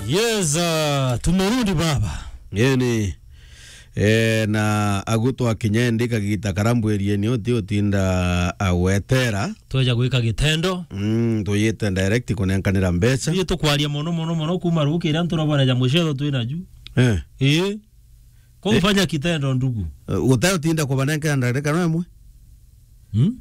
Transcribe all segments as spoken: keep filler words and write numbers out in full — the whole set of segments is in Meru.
Yes, uh, tumerudi baba. Yeni. Eh, na agu twakinya ndi kagita karambwirieni uti utinda agwetera. Tweja gwika gitendo. Mm, tuyite direct kunenkanira mbeca. Ii tukwaria mono, mono, mono kuma ruki iria nturabona ja mucetho twina ju. Eh. Ii. Ko Eh. Ufanya kitendo ndugu. Eh, utayo tinda kubanenkera ndareka no imwe? Hmm?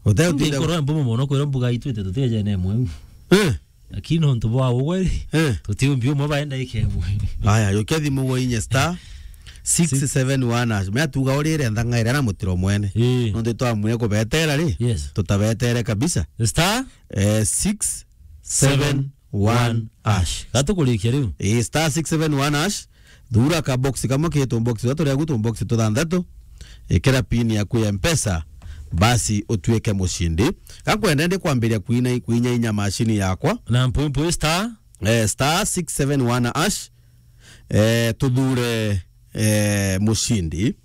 Utayo tinda Nkorwa mbumo mono kwira mbuga itwite tutieje na imwe. Eh. Lakini nontu bwa ugwe ri, Eh. tutiumbi umwe baenda ikemwe. Aya, yukia thimu gwe inye star six seven one hash. Mea tuga urire nthangaire na mutiro mwene. Eh. Nontu twamwire kubetera ri, Yes. tutabetere kabisa. Star Eh, six seven one hash. Gatukurikia riu. Eh, star six seven one hash. Thura ka box kamwe ki tu box twa turia gu tu box tuthanthatu. Ikira pin yaku ya Mpesa, basi utuike mucindi. Gakwenda ndi kwambiria kuina, kuinya inya mashini yakwa. Na mpwi mpwi star? Eh, star six seven one hash. Eh, tuthure, eh, mucindi.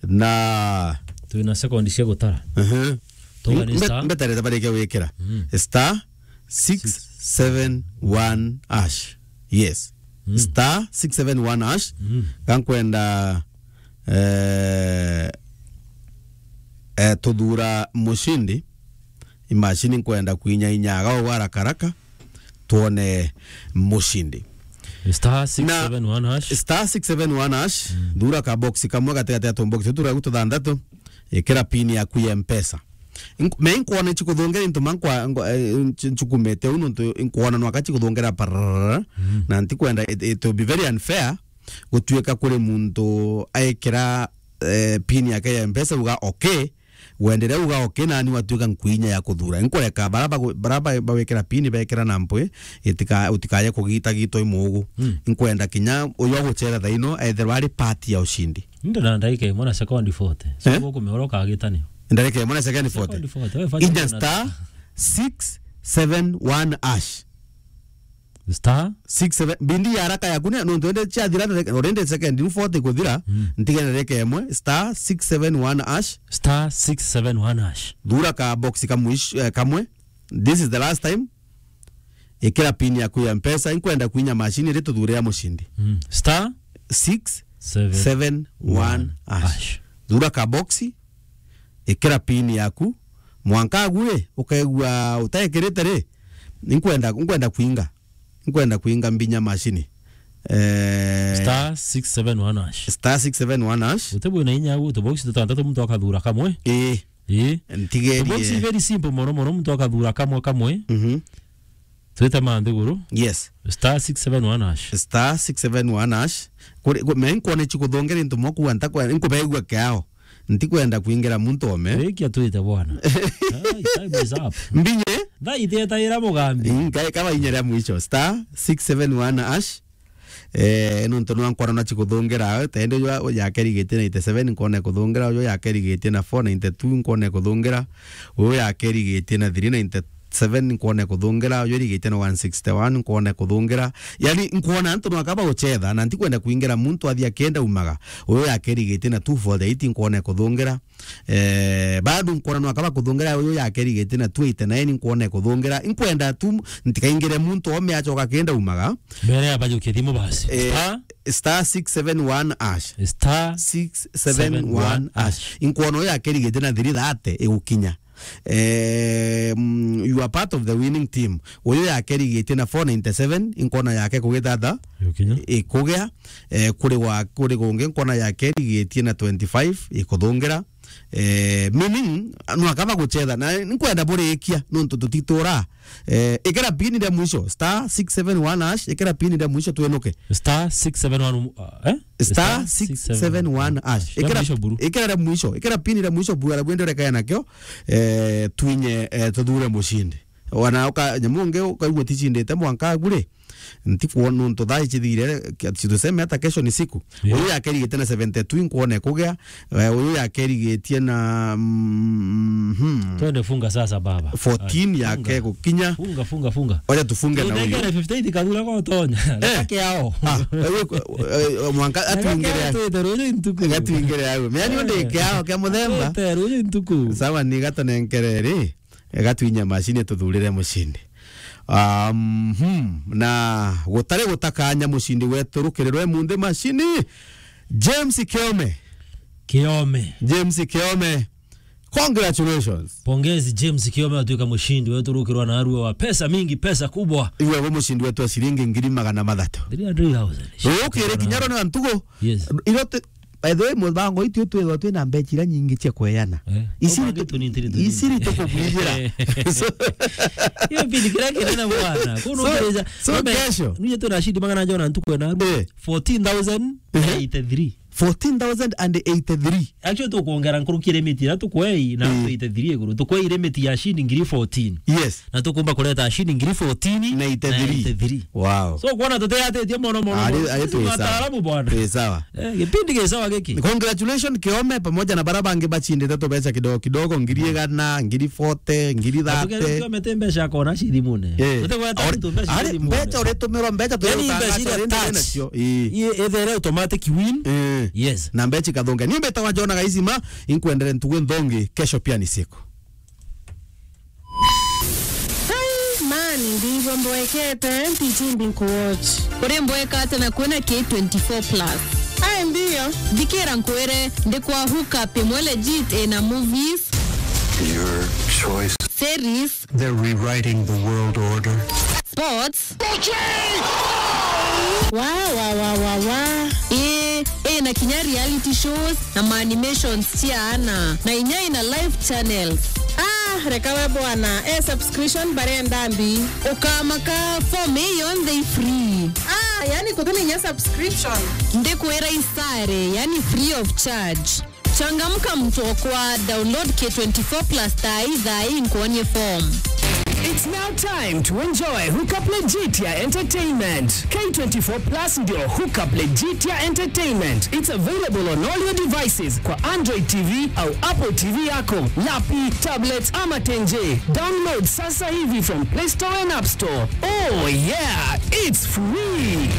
Na Twina sekondi cia gutara. Ehe. Tugani Mbe-, star. Mbeterete barikia gwikira. Mm. Star six seven one hash. Yes. Mm. Star six seven one hash. Mm. Gankwenda, eh, eh, tuthura mucindi. Imashini nkwenda kuinya inyaga o haraka haraka. Twone mucindi. Star Na six seven one hash. Star six seven one hash. Mm. Thura ka box kamwe gatigati ya tu box turia tuthanthatu. Ikira pin yaku ya Mpesa. Ink-, me inkwona chikuthongera into mankwa, ngo-, eh, nch-, nchukumete unu ntu inkwona nwaka chikuthongera pararara. Mm. Na ntikwenda it, it will be very unfair gutuika kuri muntu aikira, eh, pin yake ya Mpesa uga okay, wendere uga okay, nani watuika nkwinya ya kuthura. Inkureka bara bagu-, bara ba-, bawikira pin bekira na mpwi, itika-, utikaye kugita gitwa imugu. Mm. Inkwenda kinya uyu aguchera thaino etherwa ari part ya ushindi. Ndio na ndaika imwe na sekondi forty. Eh? Sio kumeoroka agitani. Ndareke mwana second forty. Sekondi forty. Wewe fanya Inya una- star six seven one hash. Star? Six seven. Bindi ya haraka yaku ni, no, twende cia thira, already second, ni forty kuthira. Mm. Ntige ndareke imwe, star six seven one hash. Star six seven one hash. Thura ka box kamwe, eh, kamwe. This is the last time. Ikira pin yaku ya Mpesa, inkwenda kuinya mashini ri tuthure ya mushindi. Mm. Star six seven one hash. Hash. Thura ka box, ikira pin yaku, mwanka agu ri, ukaigua utaikirite ri, inkwenda, inkwenda kuinga. Inkwenda kuinga mbinya mashini. Eh, star six seven one hash. Star six seven one hash. Uti bwina inya agu, tu box tutantatu muntu akathura kamwe. Ii. Ii. Ntigerie. Box very simple mono mono, muntu akathura kamwe kamwe. Mhm. Twite manthiguru. Yes. Star six seven one hash. Star six seven one hash. Kuri, ku-, me nkwona ichi kuthongera into mwa kuwa ntakwa, nkubegua kiao. Ntikwenda kuingira muntu ome. Rikia twite bwana. Ai, time is up. Mbinye? Thaa itetaira mugambi. Nkai kaba inya ria mwisho. Star six seven one hash. Eh, nontu nwa nkona na chikuthungira, tende jwa yakerigitie ninety seven, nkona kuthungira, uyu yakerigitie na four ninety two, nkona kuthungira, uyu yakerigitie na three ninety seven, nkona kuthungira, uyu erigitie na one sixty one, nkona kuthungira. Yani, nkona antu nwa kaba guchetha, na ntikwenda kuingira muntu athia kenda umaga. Uyu yakerigitie na two forty eight, nkona kuthungira. Eh, bado nkona no akaba kuthungira uyu yakerigitie na two eighty nine, nkona kuthungira. Nkwenda tu ntikaingire muntu ome acoka kenda umaga. Mbere ya bajukia thimu basi. Eh, star? Star six seven one hash. Star six seven one hash. Seven one hash. Nkwona uyu yakerigitie na three thirty igukinya. Eh, mm, you are part of the winning team. Uyu yakerigitie na four ninety seven, nkona yake kugitata. Igukinya. Ikugia. Eh, kuri wa, kuri gungi nkona yakerigitie na twenty five, ikuthungira. Eh, meaning, no akaba guchetha, na nkwenda burikia, nontu tutitura. Eh, ikira pin ria mwisho, star six seven one hash, ikira pin ria mwisho twinuke. Star six seven one, uh, eh? Star six seven one hash. Ya mwisho buru. Ikira ria mwisho, ikira pin ria mwisho buru, arabwende urekae nakio, eh, twinye, eh, tuthure mushindi. Wana uka, nyamu ungi ukaigua tichindite mwanka agure. Ntikwona nontu thaa ici thire, kia-, tuseme hata kesho ni siku. Yeah. Uyu yakerigitie na seventy two, nkwona ikugia. Eh, uyu yakerigitie na, mm, hmm. Twende funga sasa, baba. Fourteen. Ai, yake funga. Gukinya. Funga, funga, funga. Oja tufunge na uyu. Tuthengere fifty eight kathura gotonya. Eh. Reke ao. Ah, eh, eh, eh, mwanka. Reke atwingire ao ya-, twite ruju ntuku. Atwingire ao. Meani, eh, ndike ao kia muthemba. Twite ruju ntuku. Sawa, ni gatonenkere ri. Gatwinya mashini tuthurire mushindi. Um, hmm. Na gutari gutakanya mucindi wetu rukiri rwe munthi macini, James Kiome. Kiome. James Kiome. Congratulations. Pongezi James Kiome, atuika mucindi wetu rukirwa na arua wa pesa mingi, pesa kubwa. Iwe go mucindi wetu wa ciringi ngiri magana mathatu. Three hundred thousand. Ukiri kinyaro na ntugo. Yes. Irote By the way, mubango itu twithwa twina mbecha ira nyingi cia kweana. Eh. Isiri tu-, isiri tukubwijira. So, hiyo bili kira kiri na bwana. Kuno so, so kesho. Nije tuna shidi magana jona ntuku na eh, fourteen thousand eighty-three. Fourteen thousand and eighty-three. Actually, tukuongera nkuruki limit ira tukwei na eh, eighty-three iguru. Tukwei limit ya shidi ngiri fourteen. Yes. Na tukumba kureta shidi ngiri fourteen na eighty-three. Na eighty-three. Wow. So, kuona tuteyatitie mono, mono, ari, mono. Ari twi sawa. Wataalamu bwana. Twi sawa. Eh, gipindi gi sawa giki. Congratulations, Kiome, pamoja na bara bangi bachindite tubeca kidogo kidogo, ngiri igana, ngiri forty, ngiri thirty. Kiome ti mbeca akona cithimune. Eh. Tutigweta ari, mtu mbeca ari, cithimune. Mbeca uritumirwa, mbeca yani, mbeca tutangaza iria uri touch nacio. Ii. Ii, ithere automatic win. Eh. Yes. Na mbeca ikathunga. Ni mbetawa Jona Gaisima, inkwendere ntugu nthongi, kesho pia ni siku. Ai, man, ndivyo mbwekete, ntichimbi nkuwatch. Uri mbweka ate na kwina K twenty-four plus? Ai, ndio. Thikira nkwire, ndi kwa hook up imwe legit ina movies. Your choice. Series. They're rewriting the world order. Sports. Wa, wa, wa, wa, wa. Ii, ina kinya reality shows na ma animations cia ana. Na inya ina live channels. Ah, reka we bwana. Eh, subscription barenda mbi. Ukamaka form ii yonthe i free. Ah, yani kutumia inya subscription. Ndikwira isare, yani free of charge. Changamka mtu okwa, download K twenty-four plus thaa ii, thaa ii nkuonie form. It's now time to enjoy Hookup Legit ya Entertainment. K twenty-four plus ndio Hookup Legit ya Entertainment. It's available on all your devices kwa Android T V au Apple T V yako, lapi, tablet ama tenje. Download sasa hivi from Play Store and App Store. Oh yeah, it's free.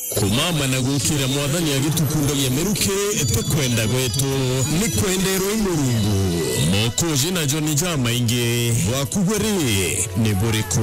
Kumama na gukira Mwathani agitukundagia miruki, ti kwenda gwetu, ni kwenderwa i Murungu. Mokoji na Joni jamaingi, bwaku bwe ri, ni buriku?